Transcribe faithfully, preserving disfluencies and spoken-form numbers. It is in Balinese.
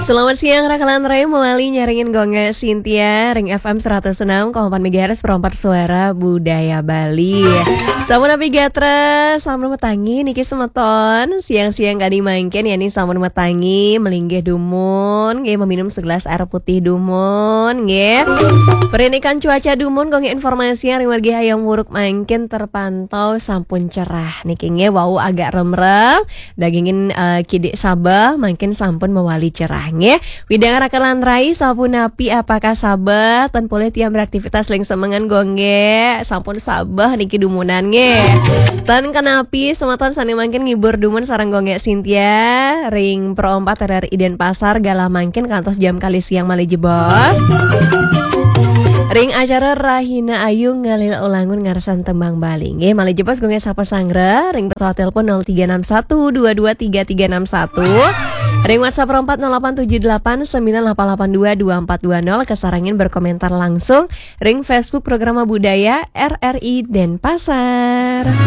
Selamat siang, Raka lan Rai, mawali nyarengin Gung Gé Cynthia ring F M seratus enam koma empat megahertz, perempat suara budaya Bali. Sampun napi gatra, sampun matangi niki semeton. Siang-siang kadi mangkin ya nih sampun matangi, melinggih dumun, nggih, meminum segelas air putih dumun, nggih. Perinikan cuaca dumun, Gung Gé, informasi ring margi Hayam Wuruk mangkin terpantau sampun cerah. Niki nggih wau agak remrem, dagingin eh, kidik sabeh, mangkin sampun mawali cerah nggih. Widang Raka lan Rai, sapunapi, apakah sabeh? Ten polih tiang beraktivitas ring semengan, Gung Gé? Sampun sabeh niki dumunan nggih. Ten kenapi, semeton sane mangkin ngibur dumun sareng Gung Gé Cynthia ring Pro empat R R I Denpasar, galah mangkin kantos jam kalih siang malih jebos. Ring acara Rahina Ayu ngalih ulangun ngarsan tembang Bali. Nggih, malih jebos Gung Gé sapa sanggra ring pesawat telepon nol tiga enam satu dua dua tiga tiga enam satu. Ring WhatsApp empat nol delapan tujuh delapan sembilan delapan delapan dua dua empat dua nol, kasarengin berkomentar langsung ring Facebook Programa Budaya R R I Denpasar.